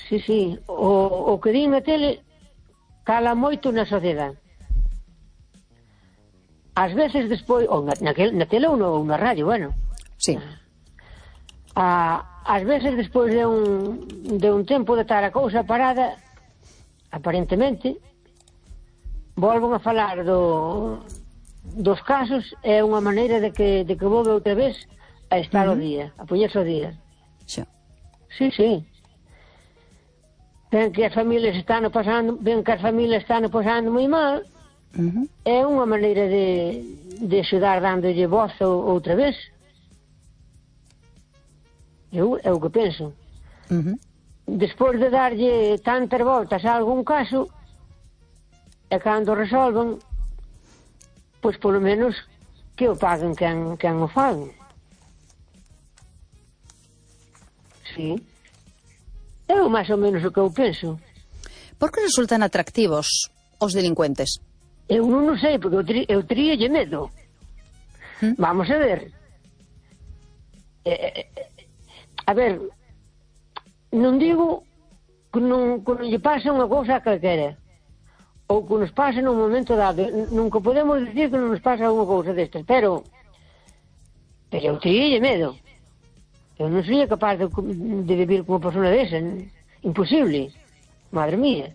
Sí, sí. O que din na tele cala moito na sociedade. Ás veces despois, ou na tele ou na radio, bueno. Sí. Ás veces despois de un tempo de estar a cousa parada, aparentemente, volven a falar dos casos, é unha maneira de que volve outra vez a estar ao día, a poñerse ao día. Xa. Sí, sí. Ven que as familias están pasando moi mal, é unha maneira de axudar dándolle voz outra vez. É o que penso. Despois de darlle tantas voltas a algún caso, e cando resolven, pois polo menos que o paguen quen o fan. Sí. É o máis ou menos o que eu penso. Por que resultan atractivos os delincuentes? Eu non o sei, porque eu teríalle medo. Vamos a ver. A ver, non digo que non lle pase unha cousa a calquera, ou que nos pase nun momento dado. Nunca podemos dicir que non nos pasa unha cousa destas, pero eu teríalle medo. Eu non sería capaz de vivir como persona desa. Imposible. Madre mía.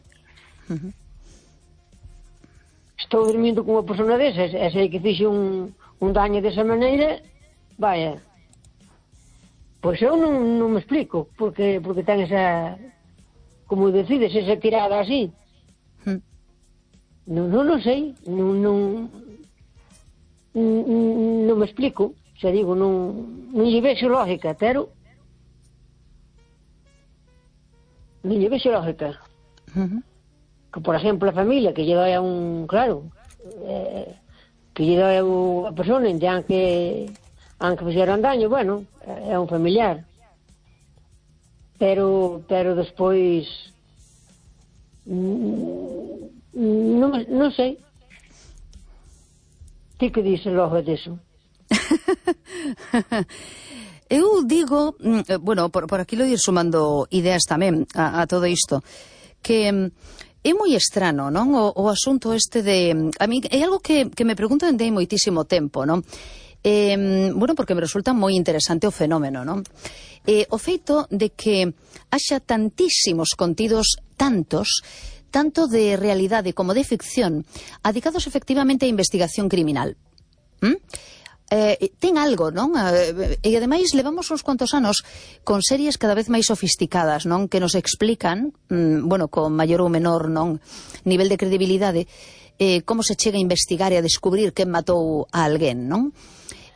Estou dormindo como persona desa, e sei que fixe un daño desa maneira, vaya. Pois eu non me explico porque ten esa, como decides, esa tirada así. Non sei, non me explico. Xa digo, non lle vexo lógica, pero non lle vexo lógica. Que, por exemplo, a familia que lle doi a un, claro, que lle doi a persona, aunque fixeron daño, bueno, é un familiar. Pero despois non sei. Ti que dices logo disso? Eu digo, bueno, por aquí lo ir sumando ideas tamén a todo isto, que é moi estrano, non? O asunto este de... A mí é algo que me pregunto dende hai moitísimo tempo, non? Bueno, porque me resulta moi interesante o fenómeno, non? O feito de que haxa tantísimos contidos, tanto de realidade como de ficción, adicados efectivamente á investigación criminal. Ten algo, non? E ademais levamos uns cuantos anos con series cada vez máis sofisticadas, non? Que nos explican, bueno, con maior ou menor, non, nivel de credibilidade, como se chega a investigar e a descubrir quen matou a alguén, non?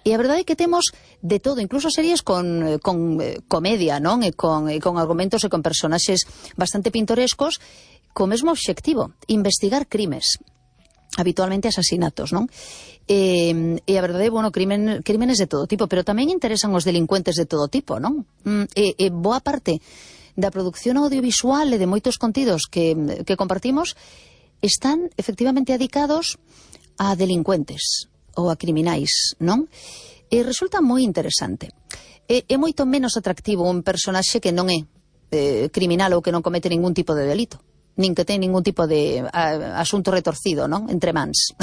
E a verdade é que temos de todo, incluso series con comedia, non? E con argumentos e con personaxes bastante pintorescos, co mesmo obxectivo, investigar crimes, habitualmente asasinatos, non? E a verdade, bueno, crímenes de todo tipo, pero tamén interesan os delincuentes de todo tipo, non? E boa parte da produción audiovisual e de moitos contidos que compartimos están efectivamente adicados a delincuentes ou a criminais, non? E resulta moi interesante. É moito menos atractivo un personaxe que non é criminal ou que non comete ningún tipo de delito, nin que ten ningún tipo de asunto retorcido, non? Entre mans.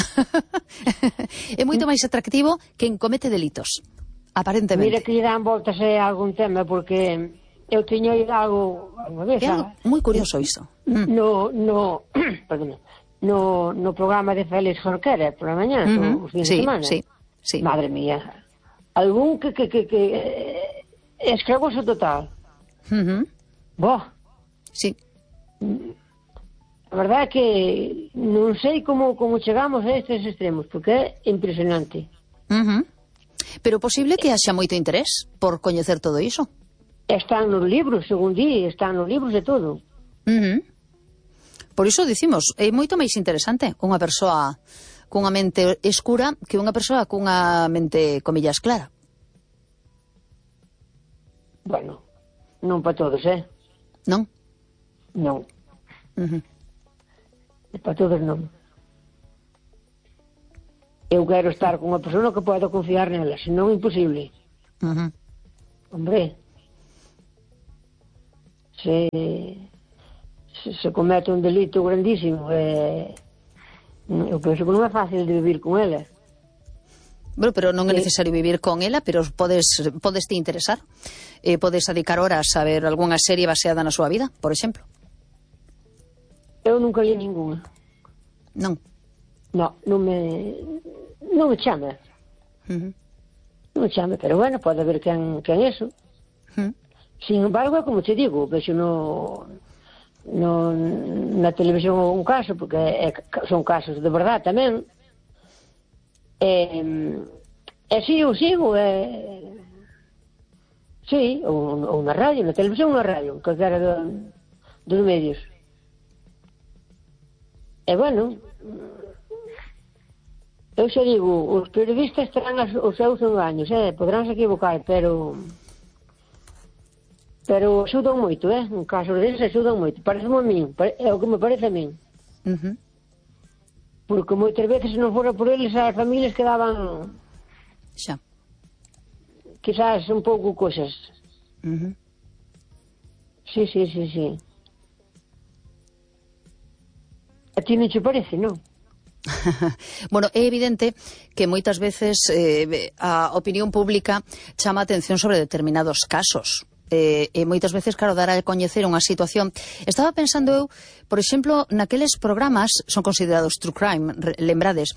É moito máis atractivo quen comete delitos, aparentemente. Mira que lle dan voltas a algún tema, porque eu tiño oído algo unha vez. É algo moi curioso iso. No programa de Félix Jorquera, por la mañá, os fines de semana. Sí. Madre mía. Algún que escravoso total. Boh. Sí. A verdade é que non sei como chegamos a estes extremos, porque é impresionante. Pero posible que haxa moito interés por coñecer todo iso. Están nos libros, según di, están nos libros de todo. Por iso dicimos, é moito máis interesante unha persoa cunha mente escura que unha persoa cunha mente, comillas, clara. Bueno, non para todos, Non? Non. Para todos non. Eu quero estar con unha persona que poda confiar nela, senón imposible. Hombre, se se comete un delito grandísimo, eu penso que non é fácil de vivir con ela. Bueno, pero non é necesario vivir con ela, pero podes te interesar. Podes dedicar horas a ver algunha serie baseada na súa vida, por exemplo. Eu nunca li ninguna. Non. Non me chama. Non me chama, pero bueno, pode haber quen eso. Sin embargo, como te digo, vexo na televisión un caso, porque son casos de verdad tamén. Si eu sigo, sí, ou na radio, na televisión ou na radio, calquera dos medios. Bueno, eu xa digo, os periodistas terán os seus engaños, podránse equivocar, pero axudan moito, en casos deles axudan moito, pareceme a min, é o que me parece a min. Porque moitas veces se non fora por eles as familias quedaban xa quizás un pouco cosas. Sí. A ti non che parece, non? Bueno, é evidente que moitas veces a opinión pública chama a atención sobre determinados casos. E moitas veces, claro, dar a coñecer unha situación. Estaba pensando eu, por exemplo, naqueles programas, son considerados true crime, lembrades,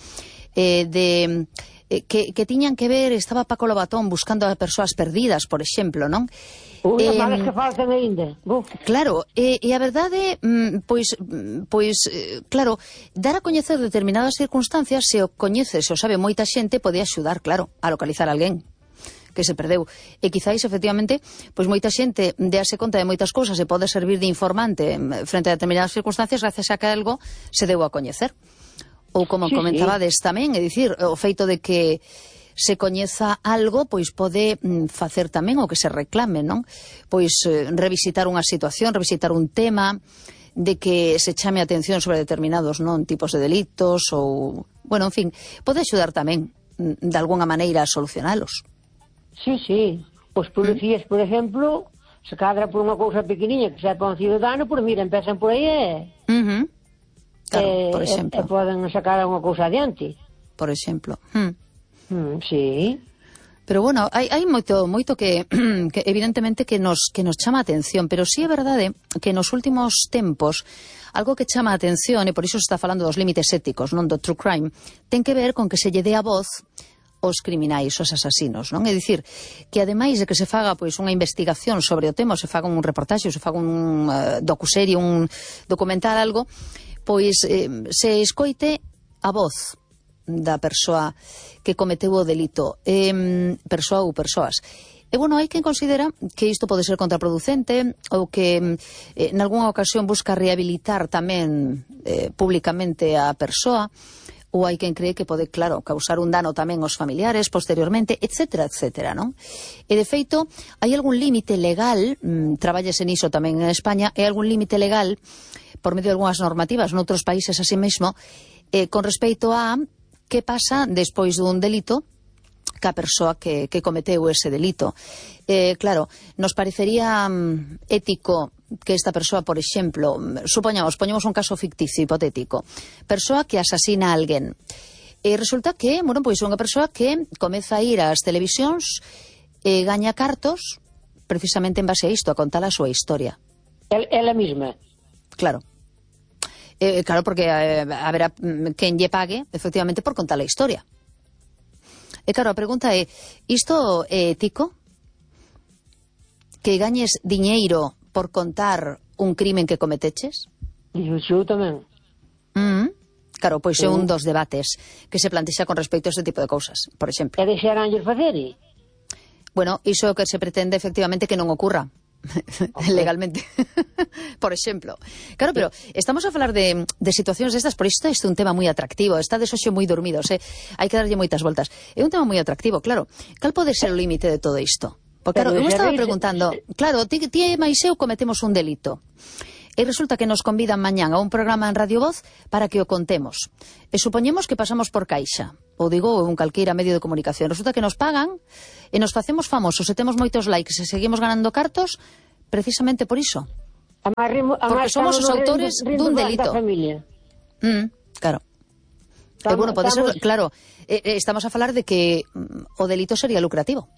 que tiñan que ver, estaba Paco Lobatón buscando a persoas perdidas, por exemplo, non? As malas que faltan aínda. Claro, e a verdade, pois, claro, dar a coñecer determinadas circunstancias, se o coñece, se o sabe moita xente, pode axudar, claro, a localizar alguén que se perdeu. E quizáis, efectivamente, pois moita xente déase conta de moitas cousas e pode servir de informante frente a determinadas circunstancias gracias a que algo se deu a coñecer. Ou como comentabades tamén, é dicir, o feito de que se coñeza algo, pois pode facer tamén o que se reclame, non? Pois revisitar unha situación, revisitar un tema, de que se chame a atención sobre determinados tipos de delitos ou, bueno, en fin, pode axudar tamén de alguna maneira a solucionalos. Sí. Os policías, por exemplo, se cadra por unha cousa pequeniña que sepa un ciudadano, pois mira, empezan por aí claro, por exemplo. E poden sacar unha cousa adiante. Por exemplo. Sí. Pero bueno, hai moito que evidentemente que nos chama a atención, pero sí é verdade que nos últimos tempos algo que chama a atención, e por iso se está falando dos límites éticos, non do true crime, ten que ver con que se lle dé a voz os criminais, os asasinos, non? É dicir, que ademais de que se faga pois unha investigación sobre o tema, se faga un reportaxe, se faga un docuserie, un documental, algo, pois se escoite a voz da persoa que cometeu o delito, persoa ou persoas. E, bueno, hai quen considera que isto pode ser contraproducente ou que nalgúnha ocasión busca rehabilitar tamén públicamente a persoa, ou hai quen cree que pode, claro, causar un dano tamén aos familiares posteriormente, etcétera, non? E, de feito, hai algún límite legal, traballase niso tamén en España, hai algún límite legal, por medio de algunhas normativas noutros países así mesmo, con respecto a que pasa despois dun delito ca persoa que cometeu ese delito. Claro, nos parecería ético que esta persoa, por exemplo, poñemos un caso ficticio, hipotético, persoa que asasina a alguén, e resulta que, bueno, pois unha persoa que comeza a ir ás televisións e gaña cartos precisamente en base a isto, a contar a súa historia. Ela mesma. Claro. Claro, porque haberá quen lle pague, efectivamente, por contar a historia. E claro, a pregunta é, isto é ético? Que gañes diñeiro por contar un crimen que cometeches? Eu tamén. Claro, pois é un dos debates que se plantexa con respecto a este tipo de cousas, por exemplo. E deixaránlles facer? Bueno, iso é o que se pretende efectivamente que non ocurra. Legalmente, por exemplo. Claro, pero estamos a falar de situacións destas, por isto é un tema moi atractivo, está de xoxo moi dormidos, hai que darlle moitas voltas. É un tema moi atractivo, claro. Cal pode ser o límite de todo isto? Porque, claro, eu estaba preguntando, claro, ti e máis eu cometemos un delito, e resulta que nos convidan mañán a un programa en Radio Voz para que o contemos. E supoñemos que pasamos por Caixa, ou digo, un calqueira medio de comunicación. Resulta que nos pagan e nos facemos famosos e temos moitos likes e seguimos ganando cartos precisamente por iso. Porque somos os autores dun delito. Claro. Bueno, pode ser, claro, estamos a falar de que o delito sería lucrativo.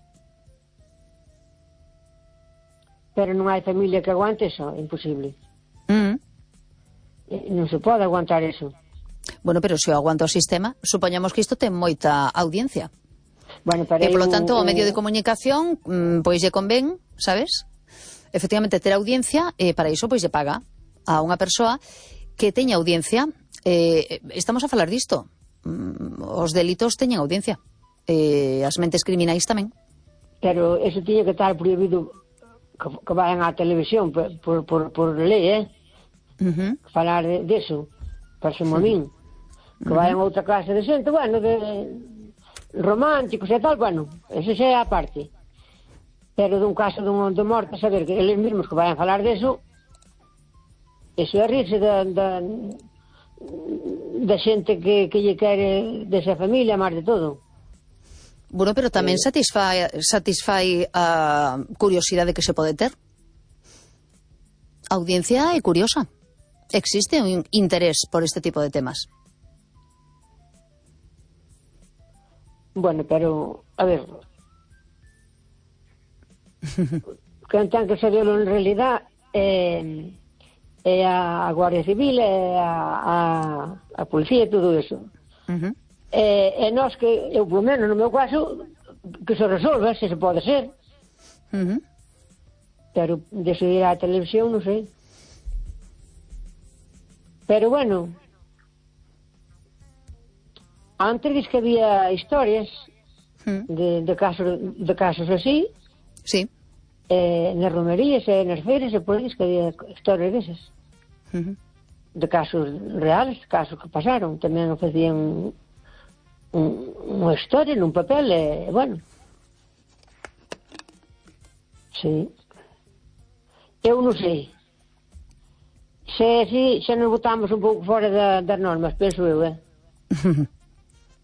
Pero non hai familia que aguante eso, é imposible. Non se pode aguantar eso. Bueno, pero se o aguanta o sistema, supoñamos que isto ten moita audiencia. Bueno, E, polo tanto, o medio de comunicación, pois lle convén, sabes? Efectivamente, ter audiencia, para iso, pois lle paga a unha persoa que teña audiencia. Estamos a falar disto. Os delitos teñen audiencia. As mentes criminais tamén. Pero eso tiña que estar prohibido que vayan á televisión por lei, falar deso, parece-me a min. Que vayan a outra clase de xente, bueno, de románticos e tal, bueno, eso xa é a parte. Pero dun caso de morte, saber que eles mesmos que vayan a falar deso, eso é rirse da xente que lle quere desa familia, máis de todo. Bueno, pero tamén satisfai a curiosidade que se pode ter. A audiencia é curiosa. Existe un interés por este tipo de temas. Bueno, pero, a ver, quen ten que saberlo en realidad é a Guardia Civil, é a Policía e todo eso. E nós que, eu polo menos no meu caso, que se resolve, se pode ser. Pero decidir a televisión, non sei. Pero bueno, antes diz que había historias de casos así. Sí. Nas romerías e nas feiras e por aí que había historias desas. De casos reales, casos que pasaron. Tamén facían unha historia nun papel e, bueno. Sí. Eu non sei. Se nos botamos un pouco fora das normas, penso eu,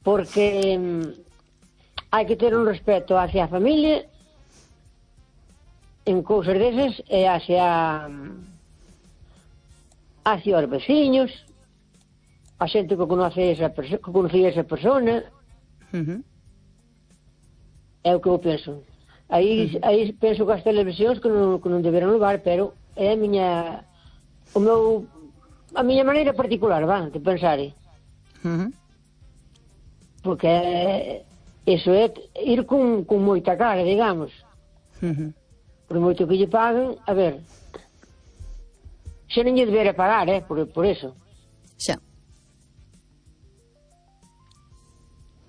porque hai que ter un respeto hacia a familia en cousas desas e hacia os veciños, a xente que conocía esa persona. É o que eu penso. Aí penso que as televisións que non deberan levar, pero é a miña maneira particular, de pensar. Porque eso é ir con moita cara, digamos. Por moito que lle paguen, a ver, xe non lle debera pagar, por eso. Xa.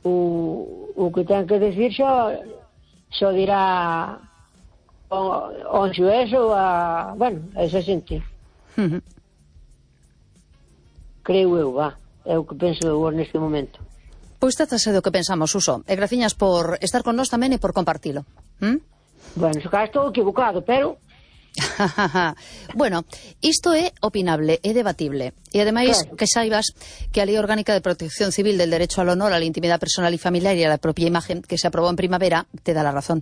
O que ten que decir xo dirá o xuez ou a esa xente. Creo eu, é o que penso eu neste momento. Pois trátase do que pensamos, Suso. E graciñas por estar con nós tamén e por compartilo. Bueno, se cá estou equivocado, pero... Bueno, isto é opinable, é debatible. E ademais, claro, que saibas que a Lei Orgánica de Protección Civil del Derecho al Honor, a la Intimidad Personal y Familiar y a la propia imagen, que se aprobou en primavera, te da la razón.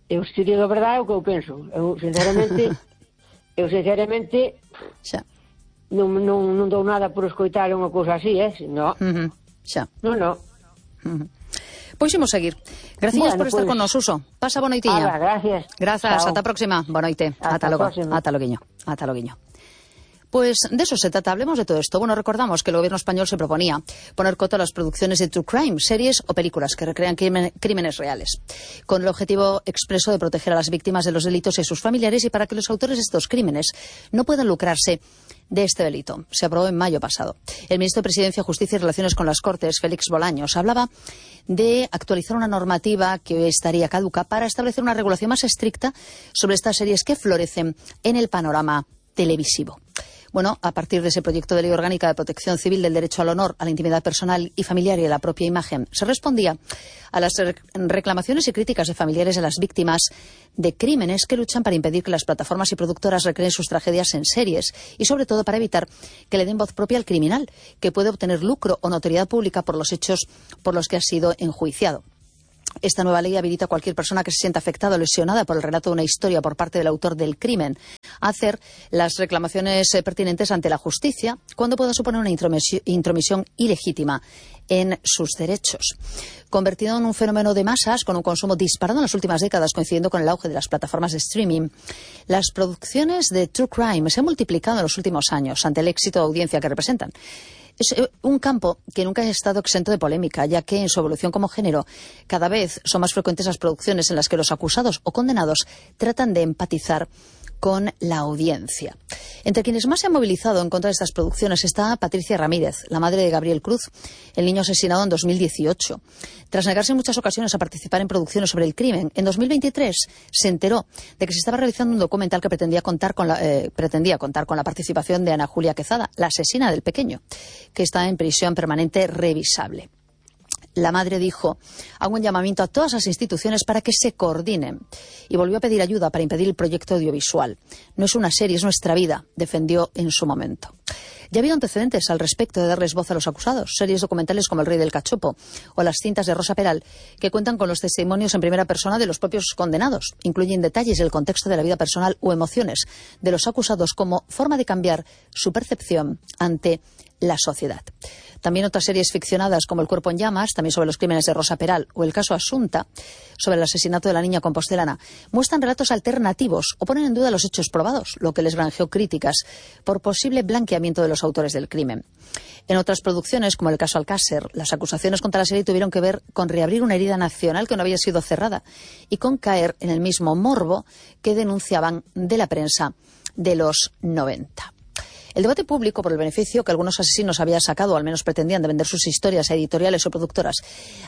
Eu, se digo a verdade, é o que eu penso. Eu, sinceramente, xa, non dou nada por escoitar unha cousa así, no. Xa. No. Pois imos seguir. Gracias por estar con nos, Suso. Pasa boa noitiña. Gracias. Grazas, ata a próxima. Boa noite. Ata logo. Ata loguiño. Pues de eso se trata, hablemos de todo esto. Bueno, recordamos que el gobierno español se proponía poner coto a las producciones de true crime, series o películas que recrean crímenes reales, con el objetivo expreso de proteger a las víctimas de los delitos y a sus familiares y para que los autores de estos crímenes no puedan lucrarse de este delito. Se aprobó en mayo pasado. El ministro de Presidencia, Justicia y Relaciones con las Cortes, Félix Bolaños, hablaba de actualizar una normativa que hoy estaría caduca para establecer una regulación más estricta sobre estas series que florecen en el panorama televisivo. Bueno, a partir de ese proyecto de ley orgánica de protección civil del derecho al honor, a la intimidad personal y familiar y a la propia imagen, se respondía a las reclamaciones y críticas de familiares de las víctimas de crímenes que luchan para impedir que las plataformas y productoras recreen sus tragedias en series y, sobre todo, para evitar que le den voz propia al criminal, que puede obtener lucro o notoriedad pública por los hechos por los que ha sido enjuiciado. Esta nueva ley habilita a cualquier persona que se sienta afectada o lesionada por el relato de una historia por parte del autor del crimen a hacer las reclamaciones pertinentes ante la justicia cuando pueda suponer una intromisión ilegítima en sus derechos. Convertido en un fenómeno de masas con un consumo disparado en las últimas décadas, coincidiendo con el auge de las plataformas de streaming, las producciones de True Crime se han multiplicado en los últimos años ante el éxito de audiencia que representan. Es un campo que nunca ha estado exento de polémica, ya que en su evolución como género cada vez son más frecuentes las producciones en las que los acusados o condenados tratan de empatizar con la audiencia. Entre quienes más se han movilizado en contra de estas producciones está Patricia Ramírez, la madre de Gabriel Cruz, el niño asesinado en 2018. Tras negarse en muchas ocasiones a participar en producciones sobre el crimen, en 2023 se enteró de que se estaba realizando un documental que pretendía contar con la participación de Ana Julia Quezada, la asesina del pequeño, que está en prisión permanente revisable. La madre dijo: hago un llamamiento a todas las instituciones para que se coordinen, y volvió a pedir ayuda para impedir el proyecto audiovisual. No es una serie, es nuestra vida, defendió en su momento. Ya ha habido antecedentes al respecto de darles voz a los acusados, series documentales como El Rey del Cachopo o las cintas de Rosa Peral, que cuentan con los testimonios en primera persona de los propios condenados. Incluyen detalles del contexto de la vida personal o emociones de los acusados como forma de cambiar su percepción ante la sociedad. También otras series ficcionadas como El Cuerpo en Llamas, también sobre los crímenes de Rosa Peral, o el caso Asunta, sobre el asesinato de la niña compostelana, muestran relatos alternativos o ponen en duda los hechos probados, lo que les granjeó críticas por posible blanqueamiento de los autores del crimen. En otras producciones, como el caso Alcácer, las acusaciones contra la serie tuvieron que ver con reabrir una herida nacional que no había sido cerrada y con caer en el mismo morbo que denunciaban de la prensa de los 90. El debate público por el beneficio que algunos asesinos habían sacado, o al menos pretendían, de vender sus historias a editoriales o productoras,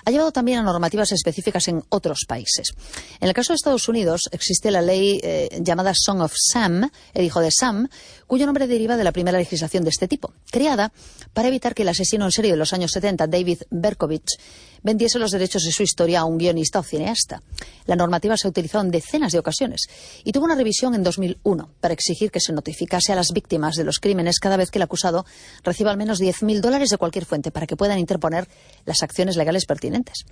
ha llevado también a normativas específicas en otros países. En el caso de Estados Unidos existe la ley llamada Son of Sam, el hijo de Sam, cuyo nombre deriva de la primera legislación de este tipo, creada para evitar que el asesino en serie de los años 70, David Berkowitz, vendiese los derechos de su historia a un guionista o cineasta. La normativa se ha utilizado en decenas de ocasiones y tuvo una revisión en 2001 para exigir que se notificase a las víctimas de los crímenes cada vez que el acusado reciba al menos $10.000 de cualquier fuente para que puedan interponer las acciones legales pertinentes.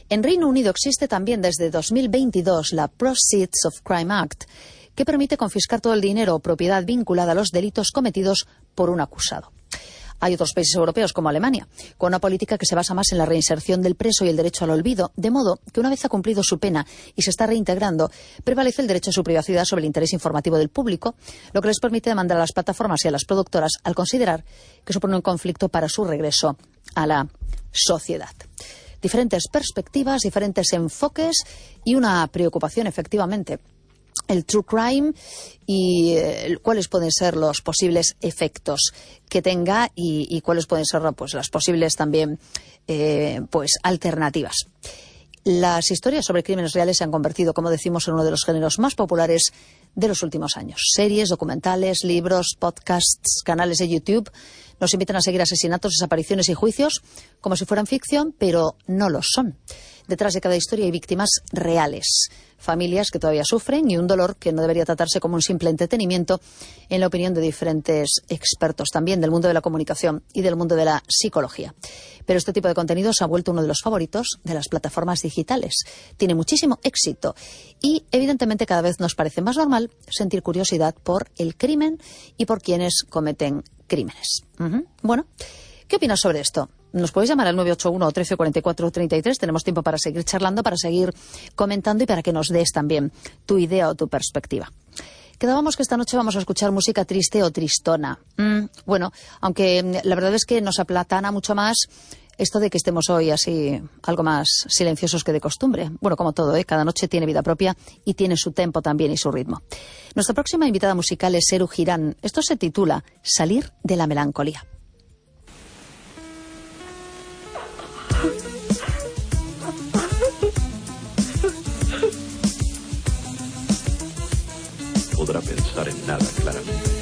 En Reino Unido existe también desde 2022 la Proceeds of Crime Act, que permite confiscar todo el dinero o propiedad vinculada a los delitos cometidos por un acusado. Hay otros países europeos, como Alemania, con una política que se basa más en la reinserción del preso y el derecho al olvido, de modo que una vez ha cumplido su pena y se está reintegrando, prevalece el derecho a su privacidad sobre el interés informativo del público, lo que les permite demandar a las plataformas y a las productoras al considerar que supone un conflicto para su regreso a la sociedad. Diferentes perspectivas, diferentes enfoques y una preocupación, efectivamente. El true crime y cuáles pueden ser los posibles efectos que tenga y cuáles pueden ser pues las posibles también alternativas. Las historias sobre crímenes reales se han convertido, como decimos, en uno de los géneros más populares de los últimos años. Series, documentales, libros, podcasts, canales de YouTube nos invitan a seguir asesinatos, desapariciones y juicios como si fueran ficción, pero no lo son. Detrás de cada historia hay víctimas reales, familias que todavía sufren y un dolor que no debería tratarse como un simple entretenimiento, en la opinión de diferentes expertos también del mundo de la comunicación y del mundo de la psicología. Pero este tipo de contenido se ha vuelto uno de los favoritos de las plataformas digitales. Tiene muchísimo éxito y, evidentemente, cada vez nos parece más normal sentir curiosidad por el crimen y por quienes cometen crímenes. Bueno, ¿qué opinas sobre esto? Nos podéis llamar al 981 1344 33. Tenemos tiempo para seguir charlando, para seguir comentando y para que nos des también tu idea o tu perspectiva. Quedábamos que esta noche vamos a escuchar música triste o tristona. Bueno, aunque la verdad es que nos aplatana mucho más esto de que estemos hoy así algo más silenciosos que de costumbre. Bueno, como todo, cada noche tiene vida propia y tiene su tempo también y su ritmo. Nuestra próxima invitada musical es Seru Girán. Esto se titula Salir de la melancolía. Podrá pensar en nada claramente.